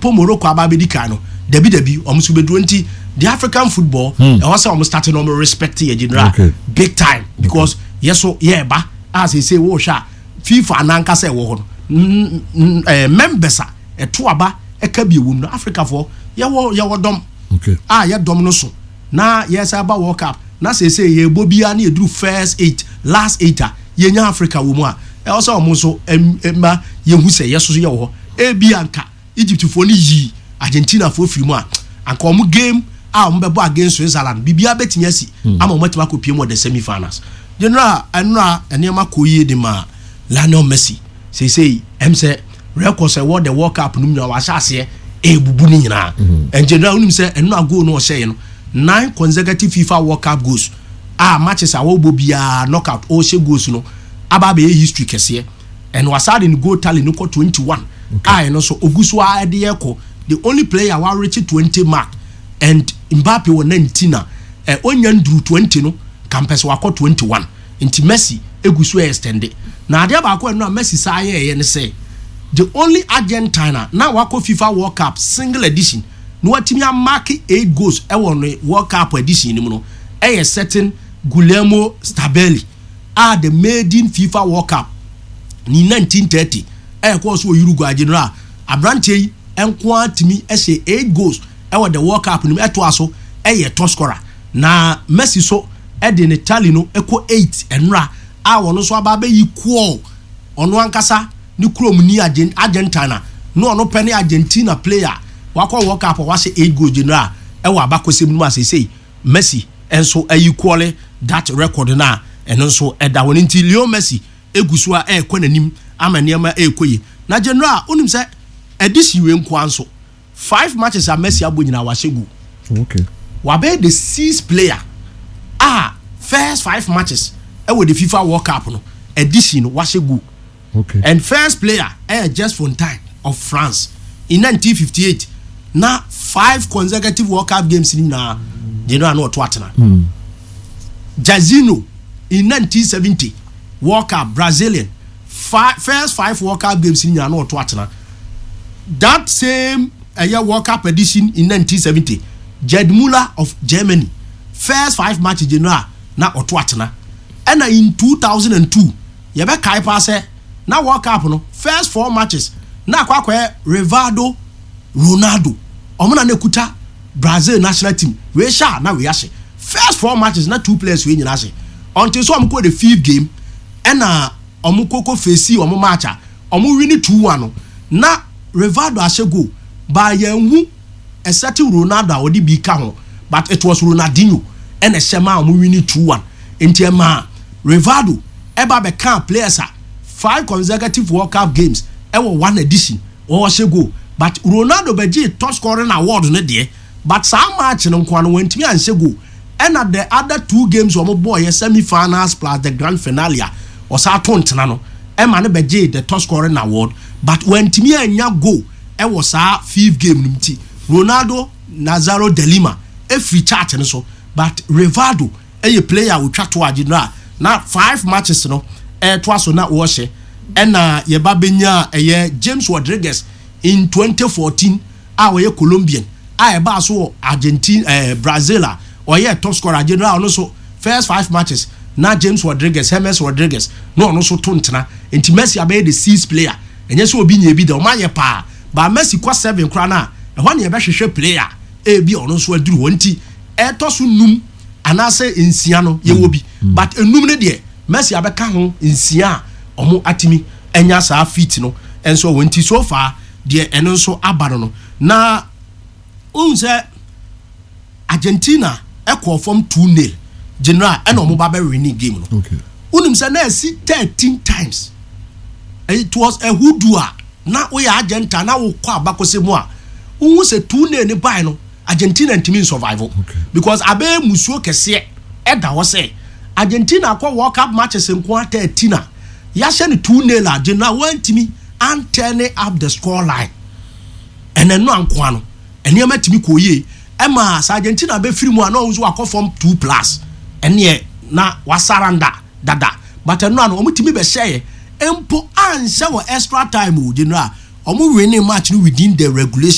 Mpo Morocco aba abɛdi kan no, dabi dabi, ɔmo nso bɛduro. Nti the African football, ɛwɔ sɛ ɔmo start na ɔmo respect yɛ, General, big time, because yɛ so yɛ ba a sese wɔɔhwɛ a, FIFA anankasa ɛwɔ hɔ no, members a ɛto aba ɛka bi ɛwɔ mu no, Africafoɔ yɛwɔ dɔm a yɛ dɔm no so na yɛsɛ aba World Cup na sese yɛbɔ biara ne yɛduru first eight, last eight a, yɛnya Africa wɔ mu a, ɛwɔ sɛ ɔmo nso ɛma yɛhu sɛ yɛ soso yɛwɔ hɔ. Ebi anka Egyptfoɔ no yi Argentinafoɔ firi mu a, anka ɔmo game a ɔmo bɛbɔ against Switzerland, biribiara bɛtumi asi ama ɔmo atumi akɔ pie mu wɔ the semi finals. General, ɛnora nneɛma kɔ yie de ma Lionel Messi. Seesei sɛ records ɛwɔ the World Cup no mu nyinaa, wahyɛ aseɛ ebubu ne nyinaa. And General, wonim sɛ ɛnora goal no ɔhyɛɛ no, nine consecutive FIFA World Cup goals a matches a wɔbɔ biara knockout ɔhyɛ goals no aba abɛyɛ history kɛseɛ. And wasa de ne goal tally no kɔ 21 a ɛno nso ogu so a ɛde yɛ kɔ the only player wa reach 20 mark, and Mbappe wɔ 19 a onya nduru 20 no kampɛ sɛ wakɔ 21. Nti Messi egu so extend. Na adeɛ baako ɛno a Messi saa yɛɛyɛ ne sɛ the only Argentina na wakɔ FIFA World Cup single edition na watumi amark eight goals ɛwɔ ne World Cup edition no mu no, ɛyɛ certain Guillermo Stabile a the maiden FIFA World Cup ní 1930 ɛyɛ kɔɔ so wɔ Uruguay. General, aberanteɛ yi nko ara tumi ɛhyɛ eight goals ɛwɔ the World Cup no mu, ɛtoa so ɛyɛ top scorer. Na Messi so ɛde ne tally no ɛkɔ eight ɛnora a wɔn nso aba abɛyi kɔɔ ɔno ankasa ne kurom ni Argentina na ɔno pɛ ne Argentina player wakɔ World Cup a wahyɛ eight goals, General, ɛwɔ abakɔsɛm no mu. Asesei Messi nso ayi kɔɔle that record na ɛno nso ɛda hɔ. Nti Leo Messi egu so a ɛrekɔ n'anim ama nneɛma ɛrekɔ yie. Na General, onim sɛ edition wei nkoa nso, five matches a Messi abɔ nyinaa, wahyɛ goal. Wabɛyɛ the sixth player a first five matches ɛwɔ the FIFA World Cup no edition no wahyɛ goal. And first player ɛyɛ Just Fontaine of France in 1958 na five consecutive World Cup games ni nyinaa, General, na ɔto atena. Jairzinho in 1970 World Cup, Brazilian, first five World Cup games ni nyinaa na ɔto atena. That same ɛyɛ World Cup edition in 1970, Gerd Muller of Germany, first five matches, General, na ɔto atena. Ɛna in 2002, yɛbɛkae paa sɛ na World Cup no first four matches na akɔyɛ Rivaldo, Ronaldo, ɔmo na ekuta Brazil national team. Wei hyɛ a na wei ahyɛ. First four matches na two players wei nyinaa hyɛ until so ɔmo kɔ the fifth game, ɛna ɔmo koko face ɔmo match a ɔmo win 2-1 no, na Rivaldo ahyɛ goal ba yɛn hu ɛsɛte Ronaldo a ɔde bi ka ho, but it was Ronaldinho ɛna ɛhyɛ maa ɔmo win 2-1. Nti ɛmaa Rivaldo ɛba bɛka players a five consecutive World Cup games ɛwɔ one edition wɔhyɛ goal, but Ronaldo bɛgye top scoring award no deɛ, but saa match no nkoa no wɔntumi anhyɛ goal. Ɛna the other two games wɔn bɔɔ yɛ semi finals plus the grand finale a ɔsan to ntena no ɛma no bɛgye the top scoring award, but wɔntumi anya goal ɛwɔ saa fifth game no. Ti Ronaldo Nazario de Lima efiri chart no so, but Rivaldo ɛyɛ player a otwa to agye no a na five matches no ɛɛtoa so na wɔhyɛ. Ɛna yɛba benya ɛyɛ James Rodriguez in 2014 a ɔyɛ Colombian a ɛbaa so wɔ Argentina, Brazil a ɔyɛ top scorer. General, ɔno nso first five matches na James Rodriguez, James Rodriguez, na ɔno nso to ntena. Nti Messi abɛyɛ the sixth player. Ɛnyɛ sɛ obi nya bi da, ɔmo ayɛ paa ba Messi kɔ seven koraa na ɛhɔ ne yɛbɛhwehwɛ player ebi a ɔno nso aduru hɔ. Nti ɛtɔ so num anaasɛ nsia no yɛwɔ bi, but enum no deɛ, Messi abɛka ho nsia a ɔmo atumi anya saa feat no nso wɔ. Nti so far deɛ, ɛno nso aba no na ohun sɛ Argentina ɛkɔɔ fam 2-0, General, ɛna ɔmo ba bɛ win game no. Wonim sɛ na ɛsi 13 times. It was a hoodoo a na woyɛ Argentina na wokɔ abakɔsɛ mu a, wohu sɛ 2-0 ne bae no, Argentina ntumi nsurvive because abɛyɛ musuo kɛseɛ ɛda hɔ sɛ Argentina akɔ World Cup matches nko a 13 a yɛahyɛ no 2-0 a, General, wantumi anturn up the score line. Ɛnɛ no ankoa no nneɛma tumi kɔ yie ɛma sɛ Argentina bɛfiri mu a, na ɔno nso wakɔ fam two plus, ɛneɛ na wasurrender dada. But ɛno ano ɔmo tumi bɛhyɛ yɛ mpo anhyɛ wɔ extra time o. General, ɔmo winning match no within the regulation.